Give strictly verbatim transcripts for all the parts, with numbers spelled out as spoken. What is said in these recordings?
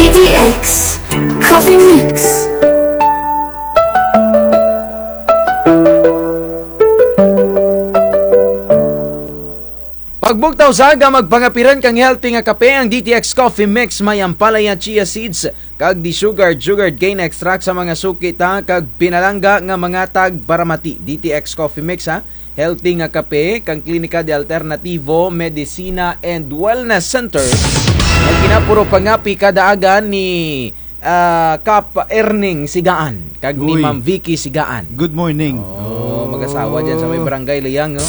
D T X Coffee Mix. Pagbugtaw sa aga, magpangapiran kang healthy nga kape ang D T X Coffee Mix, may ampalaya, chia seeds, kag desugared, sugared cane extract sa mga suki ta kag pinalangga nga mga tagparamati. D T X Coffee Mix, ha, healthy nga kape kang Klinika de Alternativo Medicina and Wellness Center, nga ginapuro pangapi kada aga ni ah, Kap Erning Sigaan, kag ni Uy. Ma'am Vicky Sigaan. Good morning. Oh, mag-asawa dyan sa may barangay Liang, no?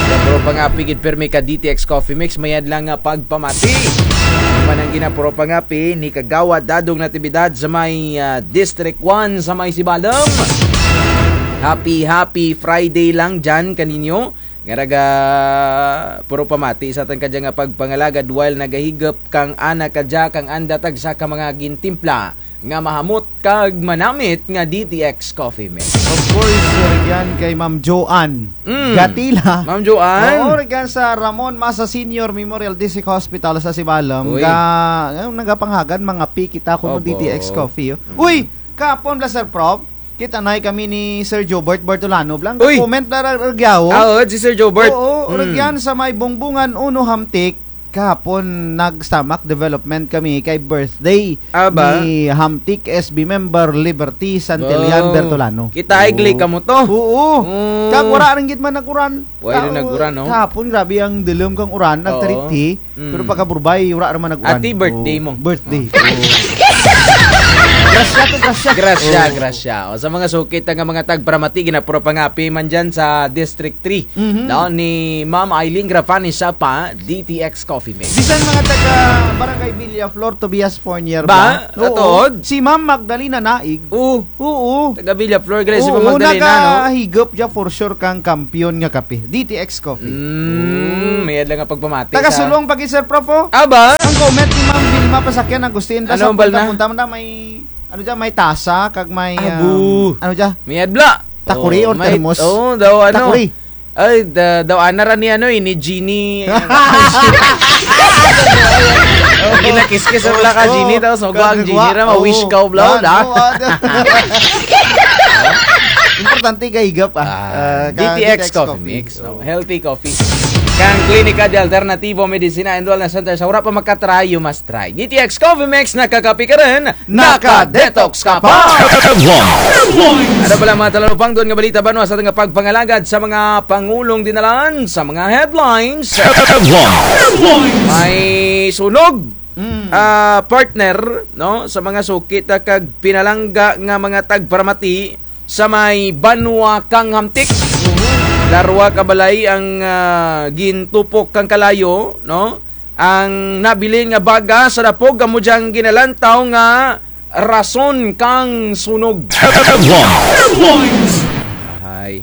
Pero pangapi gid pirmi ka D T X Coffee Mix, mayad lang nga pagpamati. Manang ginapuro pangapi ni Kagawad Dadong Natividad sa may, ah, District one sa may Sibalom. Happy, happy Friday lang dyan kaninyo. Nga naga-, puro pamati sa atun kadya nga pagpangalagad while nagahigop kang ana kadya kang anda tagsa ka mga gintimpla nga mahamot kag manamit nga D T X Coffee Mix. Of course, rugyan kay Ma'am Joanne Mm. Gatila. Ma'am Joanne. Oo, rugyan sa Ramon Masa Senior Memorial District Hospital sa Sibalom. Uy. Ga-, nga nagapanghagad, mangapi kita kuno Opo. D T X Coffee, oh. Mm. Uy, kahapon bala, Sir Prof, kita na kami ni Sir Jobert Bertolano bala. Uy! Comment bala ra-, rugya, oh. Ah, oo, si Sir Jobert. Oo, Mm. rugyan sa may Bongbongan uno Hamtic. Kahapon, nag-stomach development kami kay birthday Ah, ba? ni Hamtic S B member Liberty Santillan Wow. Bertolano. Kita ay Oo. gli kamo to. Oo. Mm. Kag wara rin gid man nag-uran. Wara rin Ka-, nag-uran, no? Kahapon, grabe ang dulum kang uran, Oo. nagtarithi. Mm. Pero pagkaburbay, wara ra man nag-uran. Ati, birthday Oo. mo. Birthday. Oo. Grasya to, grasya. Grasya, Oo. grasya. O, sa mga suki ta nga mga tagparamati, ginapuro pangapi man dyan sa District three. Mhm. No, ni Ma'am Eileen Grafani Sapa, D T X Coffee Mix. Bisan mga taga Barangay Villaflor, Tobias Fornier Ba? ba? Oo. Katuod? Si Ma'am Magdalena Naig. Oo. Oo. Taga Villaflor, gali si Oo, Ma'am Magdalena, no? nagahigop dya for sure kang kampiyon nga kape. D T X Coffee. Mm, mayad lang nga pagpamati Taga sa Sulong pa gid, Sir Prof, oh. Aba? Ang comment ni Ma'am Vilma Pasakyan Agustin, Ano, sa bal na? punta-punta mo na may, ano dya, may tasa, kag may, Abu. um, ano dya? Mayad bala. Takuri Oh, or may, termos? oh, daw ano. Takuri. Ay, da-, daw ana ra ni ano, eh, ni Jeannie. Ginakiskis ang bala ka, Oo. Jeannie, tapos magwa ang Kagwa, Jeannie ra, ma-wish oo. ka, bla, Yan, bla. oo, ah, Importante kahigop, ah. Ah, Ah, ka-, D T X D T X Coffee Coffee. Mix, no? Oo. Healthy coffee. Kang Klinika de Alternativo Medicina and Wellness Center, sa wara pa makatry, you must try. D T X Coffee Mix, nakakapi ka rin, naka-detox ka pa. Headlines. Ano pala mga talupangdon nga balita banwa sa atun nga pagpangalagad sa mga pangulong dinalan sa mga headlines? Headlines. May sunog, Mm. ah, partner, no, sa mga suki ta kag pinalangga nga mga tagparamati sa may banwa kang Hamtic. Darwa ka balay ang, ah, gintupok kang kalayo, no? Ang nabilin nga baga sa dapog, amo dyang ginalantaw nga rason kang sunog. Headlines. Ay.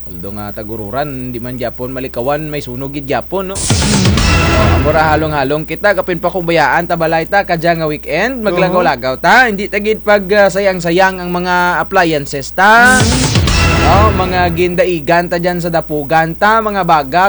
Although nga tag-ururan, di man gyapon malikawan, may sunog gid gyapon, no? Oh, amo ra halong-halong kita, kapin pa kung bayaan ta balay ta, kadya nga weekend, maglagaw-lagaw ta, hindi ta gid pag, ah, sayang-sayang ang mga appliances ta. Mm. No, mga gindaigan ta dyan sa dapugan ta, mga baga,